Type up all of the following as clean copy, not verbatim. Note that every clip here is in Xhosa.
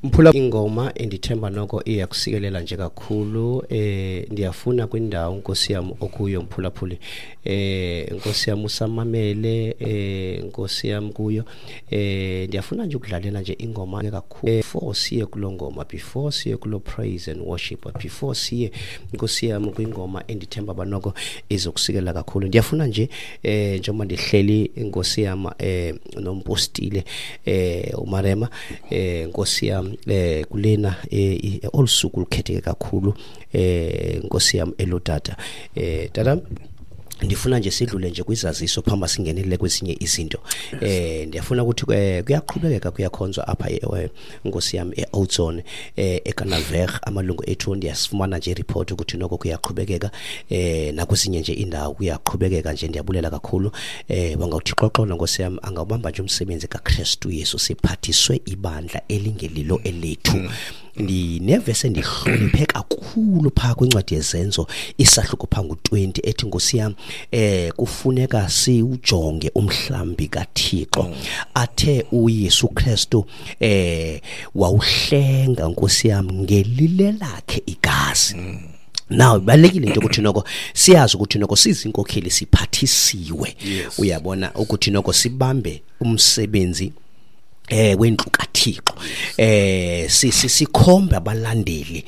Mphula ingoma endithemba noko iyakusikelela nje kakhulu. Ndiyafuna kwindawo, Nkosi yam, okuyo mphulaphuli, Nkosi yam, usamamele, Nkosi yam, kuyo. Ndiyafuna nje ukudlalela nje ingoma kakhulu before siye kulo ngoma, before siye kulo praise and worship, before siye, Nkosi yam, kwingoma endithemba banoko izokusikela kakhulu. Ndiyafuna nje, njengoba ndihleli, Nkosi yam, nompostile uMarema, Nkosi yam, kulena olusuku lukhetheke kakhulu, Nkosi yam, elotata, tata, ndifuna nje sidlule nje kwizaziso phambi singenelele kwezinye izinto. Ndiyafuna ukuthi kuyaqhubekeka, kuyakhonzwa apha, Nkosi yam, e-Oudtshoorn, eKanalweg. Amalungu ethu, ndiyasifumana nje report ukuthi noko kuyaqhubekeka, nakwezinye nje indawo kuyaqhubekeka nje. Ndiyabulela kakhulu. Wangawuthi xoxolo, Nkosi yam, angawubamba nje umsebenzi kaKristu Yesu. Siphathiswe ibandla elingelilo elethu. Ndinevesi endihloniphe kakhulu phaa kwincwadi yeZenzo, isahluko phaa ngu-20, ethi, Nkosi yam, kufuneka siwujonge umhlambi kaThixo athe uYesu Kristu wawuhlenga, Nkosi yam, ngelile lakhe igazi. Now ibalulekile into ukuthi noko siyazi ukuthi noko sizinkokheli siphathisiwe, uyabona, ukuthi noko sibambe umsebenzi wendlu kaThixo, sikhombe abalandeli,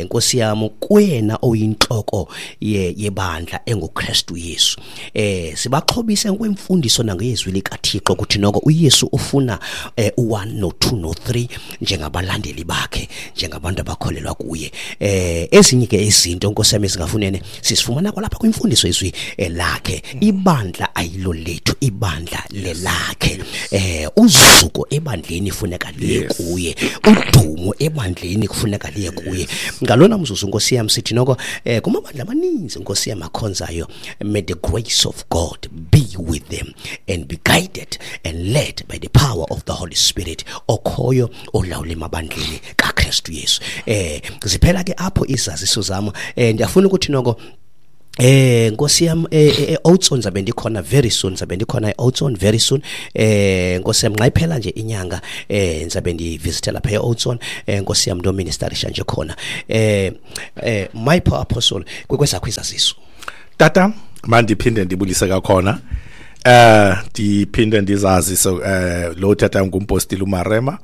Nkosi yami, kuyena oyinhloko yebandla enguKristu Yesu, sibaxhobise ngokwemfundiso nangezwi likaThixo ukuthi noko uYesu ufuna u1 no2 no3 njengabalandeli bakhe, njengabantu abakholelwa kuye. Ezinye ke izinto, Nkosi yami, ezingafunene sisifumana kwalapha kwimfundiso izwi lakhe. Ibandla ayilo lethu, ibandla lelakhe. Uzuko ebandleni kufuneka liye kuye, udumo ebandleni kufuneka liye kuye. Ngalona mzuzu, Nkosi yami, sithi noko kumabandla amaninzi, Nkosi yami, akhonzayo, may the grace of God be with them and be guided and led by the power of the Holy Spirit okhoyo olawula emabandleni kaKristu Yesu. Ziphela ke apho izaziso zami. Ndiyafuna ukuthi noko, Nkosi yam, Oudtshoorn zabe ndikhona very soon, zabe ndikhona eOudtshoorn very soon. Nkosi yam, nxa iphela nje inyanga, ndizabe ndivisithe lapha eOudtshoorn, Nkosi yam, ndoministerisha nje khona. My poor apostle, kwezakho izaziso. Tata, mandiphinde ndibulise kakhona. Ndiphinde ndizazise, lo tata ngumpostile uMarema.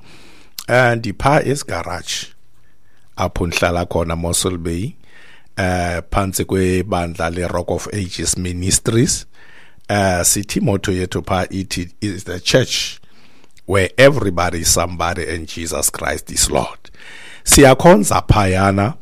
Ndipha esigarage apho ndihlala khona, Mossel Bay, phantsi kwebandla le-Rock of Ages Ministries. Sithi motto yethu pha ithi is the church where everybody is somebody and Jesus Christ is Lord. Siyakhonza phayana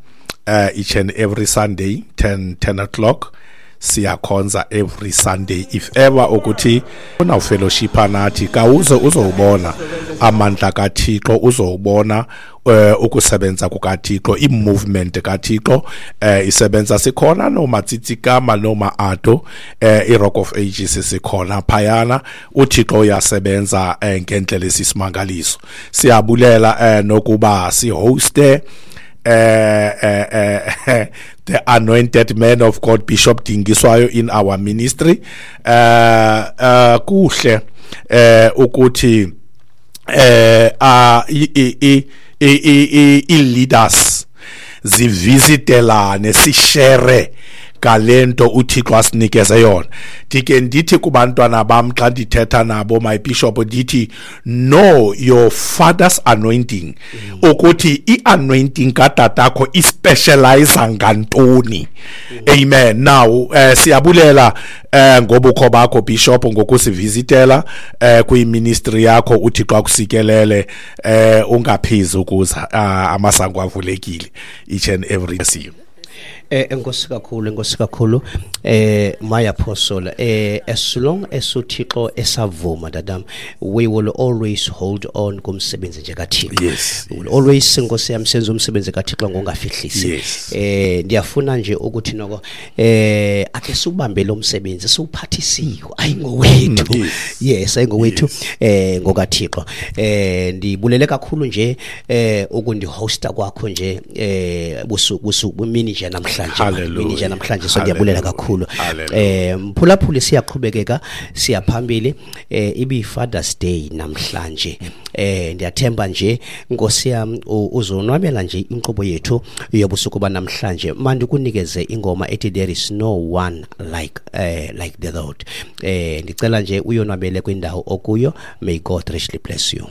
each and every Sunday, 10 o'clock. Siyakhonza every Sunday. If ever ukuthi una fellowship nathi, kawuze uzowubona amandla kaThixo, uzowubona ukusebenza kukaThixo, i-movement kaThixo isebenza. Sikhona noma Tsitsikama noma Ado, i-Rock of Ages sikhona phayana. UThixo uyasebenza ngendlela esisimangaliso. Siyabulela nokuba sihoste the anointed man of God Bishop Dingiswayo in our ministry. Kuhle ukuthi i leaders zivisitelane, sishare ngalento uThixo asinikeze yona. Ndike ndithi kubantwana bam xa ndithetha nabo, my bishop, ndithi know your father's anointing, ukuthi i-anointing katatakho ispecialize ngantoni. Amen. Now siyabulela ngobukho bakho, bishop, ngokusivisitela kwiministry yakho. UThixo akusikelele. Ungaphezi ukuza, amasango avulekile each and every see you. Enkosi kakhulu, enkosi kakhulu, my apostle. As long as uThixo esavuma, dadam, we will always hold on kumsebenzi nje kaThixo. We will always, Nkosi yami, senze umsebenzi kaThixo ngongafihlisi. Ndiyafuna nje ukuthi noko ake siubambe lo msebenzi siwuphathisiwe, ayingowethu. Yes, ayingowethu, ngokaThixo. Ndibulele kakhulu nje ukundihosta kwakho nje busuku busuku mini nje namhlanje. namhlanje. Hallelujah. Mini nje namhlanje, so ndiyabulela Hallelujah. kakhulu. Hallelujah. Mphulaphuli, siyaqhubekeka, siyaphambili. Ibi Father's Day namhlanje. Ndiyathemba nje, Nkosi yam, uzonwabela nje inkqubo yethu yobusuku banamhlanje. Mandikunikeze ingoma ethi "There Is No One Like the Lord". Ndicela nje uyonwabele kwindawo okuyo. May God richly bless you.